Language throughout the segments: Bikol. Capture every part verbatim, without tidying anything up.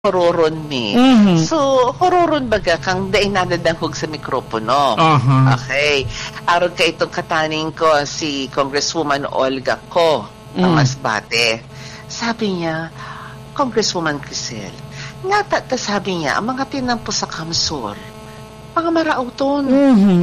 huroron mi. Mhm. So, huroron baga kang dai nadadangog sa mikropono. Aha. Okay. Arog kaitong kataning ko, si Congresswoman Olga Co, ang Mm. Masbate. Sabi niya, "Congresswoman Crisel, ngata ta," sabi niya, "ang mga tinampo sa Kamsur, mga marauton." Mhm.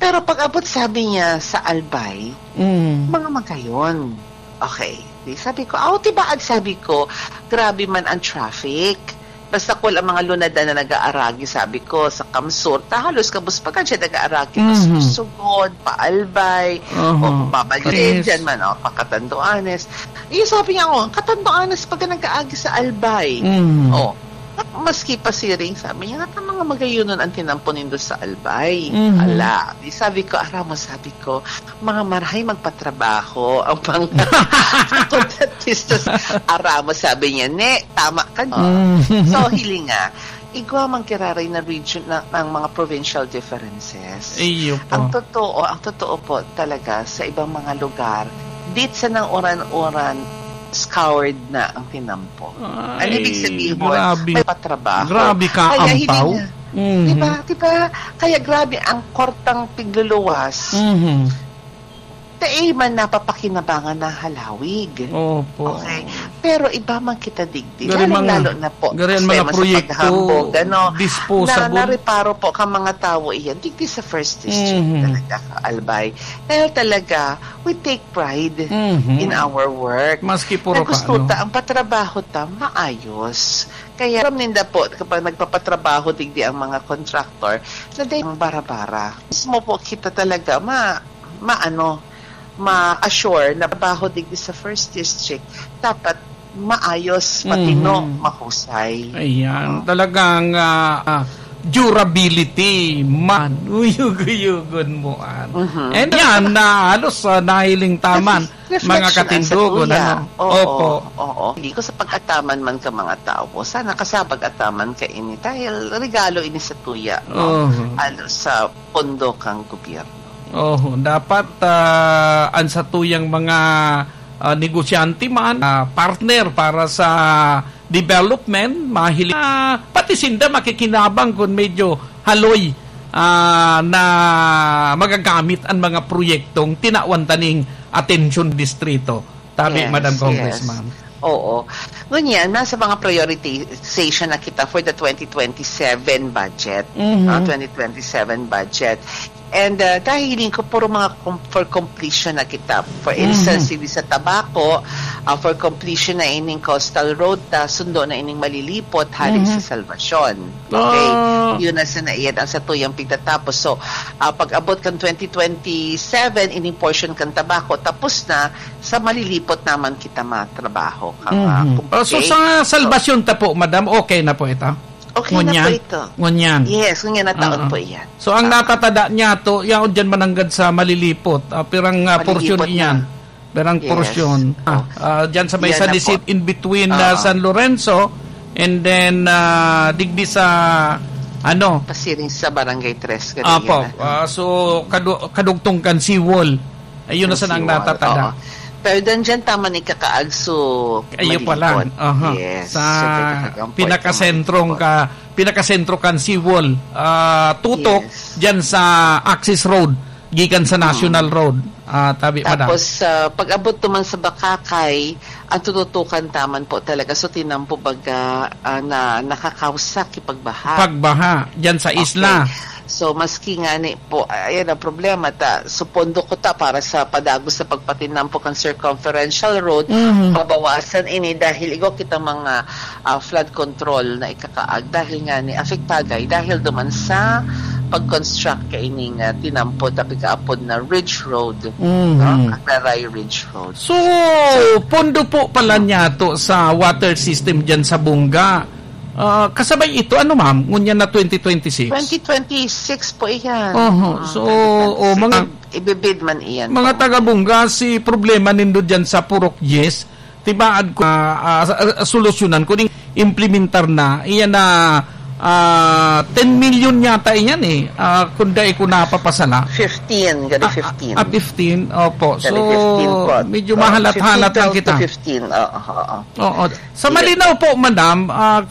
Pero pag abot, sabi niya, sa Albay, Mm. mga magayon. Okay. Di sabi ko, "Aw, tibaad," sabi ko, "grabe man ang traffic." Basta kul ang mga lunadan na nag-aaragi, sabi ko, sa Kamsur, ta halos kabus pa ka dyan nag-aaragi, Mhm. Masursugod, Paalbay, Aha. o Babalin, Yes. dyan man, o, pa Catanduanes. Yung sabi niya, "Oh, Catanduanes pag nag-aagi sa Albay." Mhm. Oh, maski pa siring, sabi niya, "Nata mga magayonon ang tinampo nindo sa Albay." Mhm. Ala, di sabi ko, "Ara mo," sabi ko, "mga marahay magpatrabaho ang mga kontratistas." "Ara mo," sabi niya, "Ne, tama ka, no?" Mm. So, hiling nga, igwa man kiraray na region na, ng mga provincial differences. Iyo po. Ang totoo, ang totoo po talaga sa ibang mga lugar, dit sa nang uran-uran, scoured na ang tinampo. Ang ibig Ay, sabihin, grabe. may patrabaho. Grabe ka, Kaya hindi ampaw. nga, Mhm. di ba? Di ba? Kaya grabe ang kortang pigluluwas. Mhm. Dai man napapakinabangan na halawig. Opo. Okay. Pero iba man kita digdi. Gari Lalong-lalo mga, na po, gari ang mga sistema sa proyekto, paghambog, ano, disposable. na nareparo po ka mga tawo iyan. Digdi sa first district Mhm. talaga, Albay. Dahil talaga, we take pride Mhm. in our work. Maski puro Na gusto ka, ano. ta, ang patrabaho ta, maayos. Kaya aram ninda po, kapag nagpapatrabaho digdi ang mga contractor, na dahil ang bara-bara. Mismo po kita talaga, ma-, maano, ma-assure na trabaho digdi sa first district, dapat maayos, patino, Mhm. mahusay. Ayan, Oh. talagang, ah, ah, durability man. Uyog-uyogon mo, an. Mhm. And yan, na halos, ah, nahiling taman, Kasi reflection mga ang katindogon, satuya. ano? Oo, Opo. oo. Hindi ko sa pag-ataman man ka mga tao. Sana kasabag ataman ka ini. Dahil regalo ini sa tuya, no? Oo. Halos sa pondo kang gobyerno. Oo, dapat, ah, ang satuyang mga, ah, negosyante man, ah, partner para sa development, mahiling, ah, pati sinda makikinabang kun medyo haloy, ah, na magagamit ang mga proyektong tinawan taning atensyon distrito. Tabi, Yes, Madam yes. Congressman. Oo. Ngunyan, nasa mga prioritization na kita for the twenty twenty-seven budget, Mhm. ah, twenty twenty-seven budget. And, ah, dahil hiling ko, puro mga com-, for completion na kita. For Mhm. instance, si sa Tabaco, ah, for completion na ining coastal road, ta sundo na ining Malilipot, hali Mhm. sa Salvacion. Okay. Ah. Yun na sana iyan ang satuyang pigtatapos. So, ah, pag-abot kan twenty twenty-seven, ining portion kan Tabaco, tapos na, sa Malilipot naman kita matrabaho. Kang, ah, Mhm. Ah, so, kumpleto. sa Salvacion ta po, madam, okay na po ito? Okay na Ngunyan? po ito. Ngunyan? Yes, ngunyan na taon Oo. po iyan. So, ang Ah. natatada niya to, yaon dyan mananggad sa Malilipot. Ah, pirang, ah, Malilipot portion na. iyan? Pirang Yes. portion. Ah, Oh. ah, dyan sa may Yan San na Isidro, po. in between, ah, Oo. San Lorenzo, and then, ah, digdi sa, ano? Pasiring sa Barangay Tres, Apo, ganyan na. ah, so, kadu-, kadugtong kan seawall. Ayun na Ang sana ang seawall, natatada. oo. Pero dan dyan, tama ni kakaag, so, Ayo pa lang. Malilipot. Aha. Yes. Sa So, may kakagang point pinakasentrong sa Malilipot. ka, pinakasentro kan seawall, ah, tutok Yes. dyan sa access road, gikan sa Mm. National Road, ah, tabi, madam. Tapos, ah, pag-abot naman sa Bacacay, ang tututukan taman po talaga. So, tinampo baga, ah, na nakakausa ki pagbaha. Pagbaha, dyan sa Okay. isla. So, maski nga ni po, ayan ang problema ta. So, pondo ko ta para sa padagos sa pagpatinampo kan circumferential road, Mhm. pabawasan ini dahil igwa kita mga, ah, flood control na ikakaag dahil nga ni apektagay dahil duman sa pag-construct kaining, ah, tinampo ta pigkaapod na Ridge Road, Mhm. no? Agraray Ridge Road. So, pondo po pala niya to sa water system dyan sa Bungga. Ah, kasabay ito, ano, ma'am? Ngunyan na twenty twenty-six? Twenty twenty-six po iyan. Oho. Ah, So, twenty twenty-six. oh, mga Ibibid man iyan Mga po. taga-Bungga, si problema nindo dyan sa Purok Yes, tibaad ko, ah, ah, sa-, ah, solusyonan ko, ning implementar na, iyan na, Ah, ten million yata iyan eh. Ah, kung dai ko napapasala. Fifteen, gani Ah, fifteen. Ah, fifteen, opo. Gani So, fifteen po. medyo Oh, mahalat-halat lang fifteen thousand kita. to fifteen, oo, oo. Oo. Sa malinaw po, madam, ah,